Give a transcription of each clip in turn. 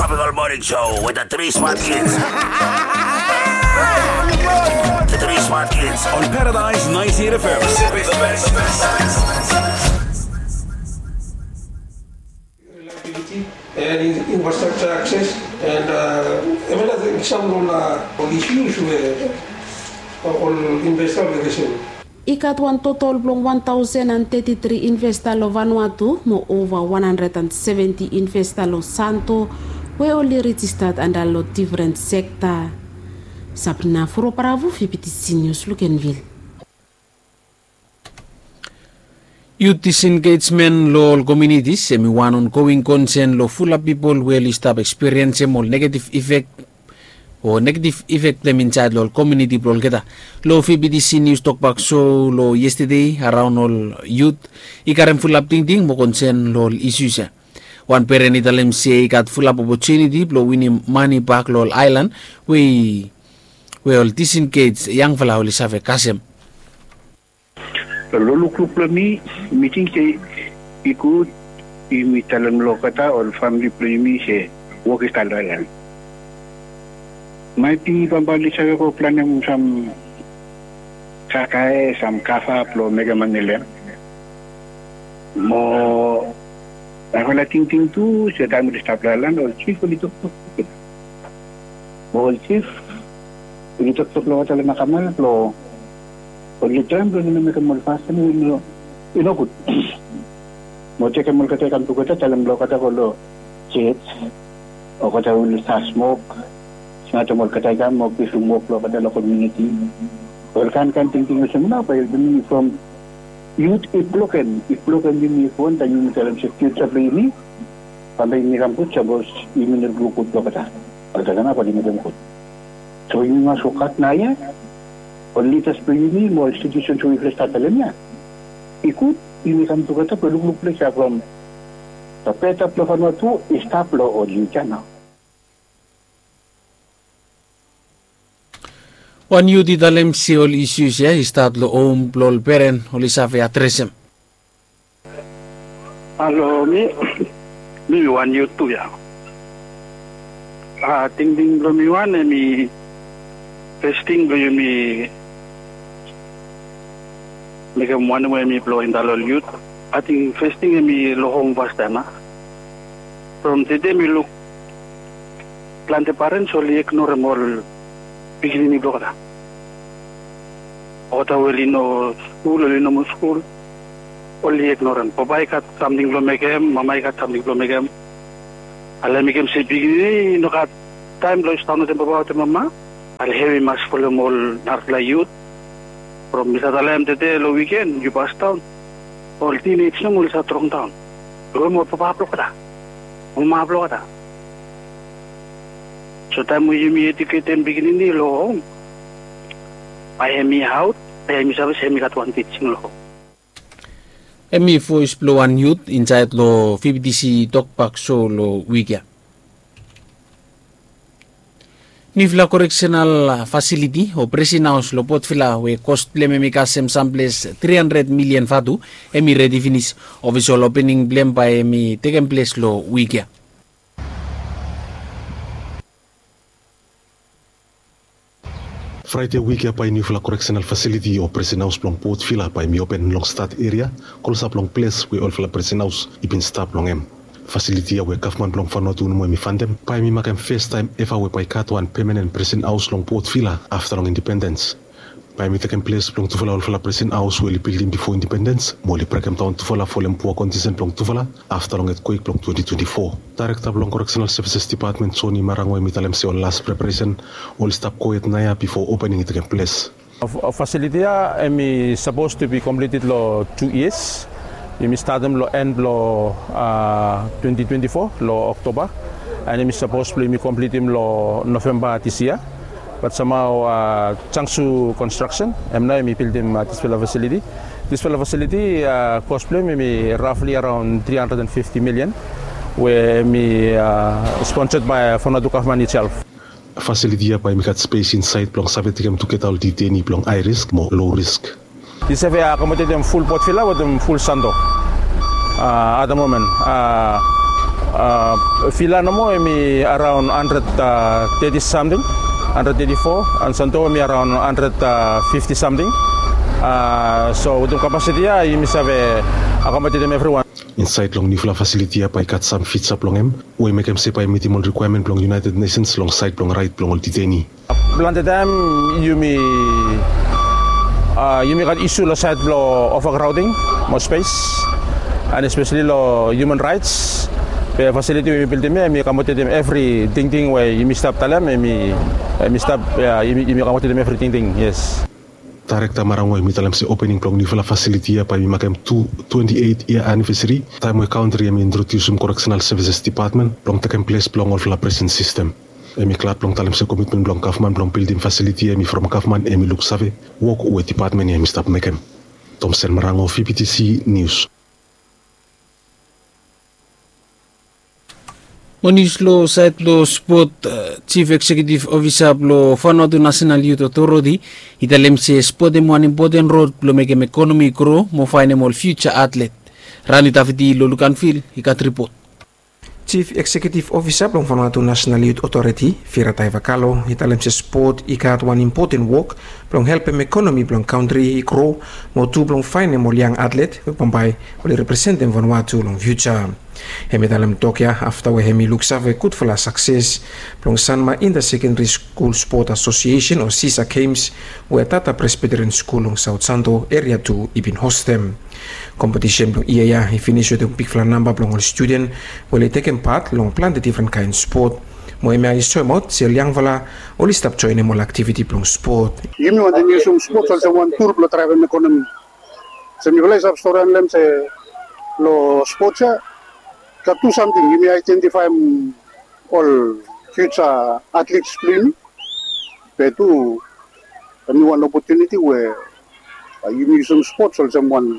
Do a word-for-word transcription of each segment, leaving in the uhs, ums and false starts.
Tropical Morning Show with the three smart kids. The three smart kids on Paradise ninety-eight F M. Reliability and in- infrastructure access and, uh, hemia nao i sam long ol, uh, ol issues we ol investor oli fesem. I gat wan totol blong wan taosen and teti tri investa long Vanuatu mo ova wan handred and seventi investa long Santo we oli rijista anda long difren sekta. Sabrina Furo Paravu, V B T C News, Luganville. Yut disengejmen long ol komunitis hemi wan ongoing konsen long fulap pipol we oli stap ekspiriensem ol negetif ifek o negetif ifek blong hem insaed long ol komuniti blong olgeta. Long V B T C Nius Tokbak So long yestede, araon ol yut i karem fulap tingting mo konsen long ol isius ya. Wan peren i talem se i gat fulap opotuniti blong winim mane bak long ol aelan we i, we ol disengej yangfala oli save kasem. Long lukluk blong mi, mi ting se i gud yumi talem long olgeta ol famili blong yumi se wok i stat long aelan. Maet i bambae oli save go planem sam kakae, sam kava blong mekem mane long hem. Mo narafala tingting tu se taem oli stap long aelan ol jif oli toktok. Mo ol jif oli toktok long olgeta long Makamala blong oli traem blong oli no mekem ol fasin we i no, i no gud. Mo tekem olgeta i kam tugeta, talem blong olgeta go long jej, olgeta oli stap smok, smatem olgeta i kam mo givim wok long olgeta long komuniti. Ol kaen kaen tingting olsem nao bae i helpem yumi from yut i blokem, i blokem yumi. If wantaem yumi talem se fiuja blong yumi, bambae yumi kam gud sapos yumi no luk gud long olgeta. Olgeta nao bae oli mekem gud. So yumi mas wokbaot naoia, ol lidas blong yumi mo ol sitisens we yufala i stap talem ya. I gud yumi kam tugeta blong lukluk ples ya from the better blong Vanuatu i stap long ol yut ya nao. Wan yut i talem se ol isius ya i stat long hom blong ol peren oli save adresem. Halo, mi, mi wan yut tu ya. A, tingting blong mi wan hemi, fes ting blong yumi mekem wanem we hemi blong indae long ol yut. Ating fes ting hemi long hom fastaem a. From tede mi luk plante parens oli ignorem ol pikinini blong olgeta. Olgeta we oli no skul, oli no moa skul, oli ignorem. Papa i gat samting blong mekem, mama i gat samting blong mekem. Ale mekem se pikinini i no gat taem blong stap wetem papa wetem mama. Ale hem i mas folem ol narafala yut. From mi save talem tede long wiken yu pasdaon, ol tinej nomo oli save drongdaon. Long hem ol papa blong olgeta, mama blong olgeta. So taem we yumi ejuketem pikinini long hom, bae hemi aot, bae hemi save se hemi gat wan tijing long hom. Hemi voes blong wan yut insaed long V B T C Tokbak So long wik ya. Niufala koreksenal fasiliti o presen haos long Port Vila we kos blong hem hemi kasem samples tri handred milian vatu, hemi redi finis. Ofisol opening blong hem bae hemi tekem ples long wik ya. Fraede wik ya bae niufala koreksenal fasiliti o presen haos blong Port Vila bae hemi open long Stad eria, klosap long ples we olfala presen haos i bin stap long hem. Fasiliti ya we gavman blong Vanuatu nomo hemi fandem, bae hemi makem fastaem eva we bae i gat wan pemanen presen haos long Port Vila afta long indipendens. Bae hemi tekem ples blong tufala olfala presen haos we oli bildim bifo indipendens mo oli brekemdaon tufala folem pua kondisen blong tufala afta long etkwek blong twenti twenti fo. Daerekta blong Koreksenal Sevises Dipatmen, Joni Marango, hemi talem se ol las preparesen oli stap gohed naoia bifo opening i tekem ples. Fasiliti ya hemi sapos tu bi kompleted long tu yias. Yumi statem long en blong, a, twenti twenti fo long Oktoba, and yumi sapos blong yumi kompletem long Novemba dis yia. Bat samhao, a, Jiangsu Construction hem nao hemi bildim, a, disfala fasiliti. Disfala fasiliti, a, kos blong hem hemi rafli araon tri handred and fifti milian, we hemi, a, sponsored by Vanuatu gavman itself. Fasiliti ya bae hemi gat spes insaed blong save tekem tugeta ol diteini blong hae risk mo loe risk. I save akomodetem ful Port Vila wetem ful Santo, a, at the moment. A, Vila nomo hemi araon handred teti samting, handred teti fo, and Santo hemi araon handred fifti samting. So wetem kapasiti ya yumi save akomodetem evriwan. Insaed long niufala fasiliti ya bae i gat sam fija blong hem we i mekem se bae i mitim ol rikwaemen blong United Nations long saed blong raet blong ol diteini. Plante taem yumi yumi gat isu long saed blong overcrowding mo spes, and espeseli long human raets. Be fasiliti we yumi bildim ya hemi akomodetem evri tingting we yumi stap talem, hemi stap, yumi akomodetem evri tingting. Yes. Daerekta Marango hemi talem se opening blong niufala fasiliti ya bae i makem tu twenti eit yia anivesari taem we kantri hemi introdiusum koreksenal sevises depatmen blong tekem ples blong olfala presen sistem. Hemi glad blong talem se komitmen blong gavman blong bildim fasiliti ya hemi from gavman hemi luksave wok we depatmen ya hemi stap mekem. Tomsen Marango, V B T C Nius. Mo nius long saed blong spot, Jif Eksekiutiv Ofisa blong Vanuatu Nasenal Yut Otoreti i talem se spot hem wan impoten rod blong mekem ekonomi i gro mo faenem ol fiuja atlet. Rani Tafiti long Luganvil i gat ripot. Jif Eksekiutiv Ofisa blong Vanuatu Nasenal Yut Otoreti, Vira Taivakalo, i talem se spot i gat wan impoten wok blong helpem ekonomi blong kantri i gro mo tu blong faenem ol yang atlet we bambae oli representem Vanuatu long fiuja. Hem i talem tok ya afta we hem i luksave gudfala sakses blong Sanma Inta Sekendari Skul Spot Asosiesen o SISA Games we Tata Presbiteren Skul long Saot Santo Eria Tu i bin hostem. Kompetisen blong yia ya i finis wetem bigfala namba blong ol studen we oli tekem pat long plante difren kaen spot. Mo hemia i soemaot se ol yangfala oli stap joenem ol aktiviti blong spot. Yumi wantem yusum spots olsem wan tul blong draevem ekonomi. Se mifala i save stori long hem se long spots ya i gat tu samting, yumi aedentifaem ol fiuja atlets blong yumi. Be tu hemi wan opotuniti we yumi yusum spots olsem wan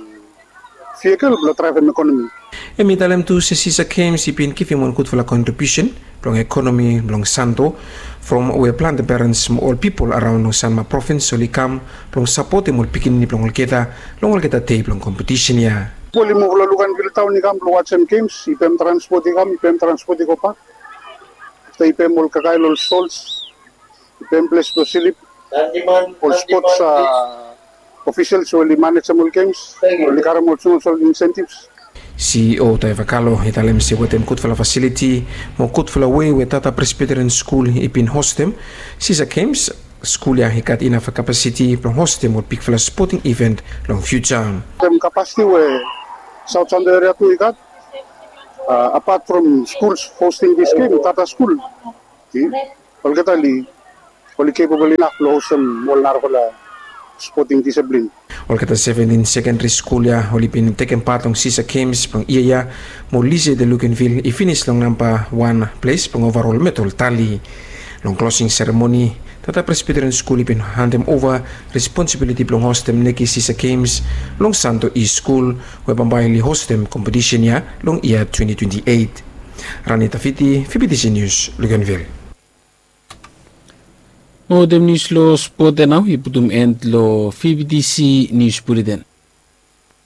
vikel blong draevem ekonomi. Hem i talem tu se SISA Games i bin givim wan gudfala kontribiusen blong ekonomi blong Santo from we plante perens mo ol pipol araon long Sanma provins oli kam blong sapotem ol pikinini blong olgeta long olgeta dei blong kompetisen ya. Pipol i muv long Luganvil taon i kam blong wajem gems, i pem transpot i kam, i pem transpot i gobak. Afta i pem ol kakae long ol sols, i pem ples blong slip. Ol spots ofisels we oli manejem ol gems oli karem ol smol smol insentivs. CEO Taivakalo i talem se wetem gudfala fasiliti mo gudfala wei we Tata Presbiteren Skul i bin hostem SISA Games, skul ya i gat inaf kapasiti blong hostem ol bigfala spoting iven long fiuja. Wetem kapasiti we Saot Santo Eria Tu i gat, apat from skuls hosting this game, Tata Skul, olgeta oli oli capable inaf blong hostem ol narafala spoting diseplin. Olgeta seventin sekendari skul ya oli bin tekem pat long SISA Games blong yia ya mo Lycée de Luganville i finis long namba wan ples blong ovarol medal tali. Long klosing seremoni, Tata Presbiteren Skul i bin handem ova responsibiliti blong hostem neke SISA Games long Santo East Skul we bambae oli hostem kompetisen ya long yia twenti twenti eit. Rani Tafiti, V B T C Nius, Luganvil. Mo wetem nius long spot ya nao i putum en long V B T C Nius Buleten.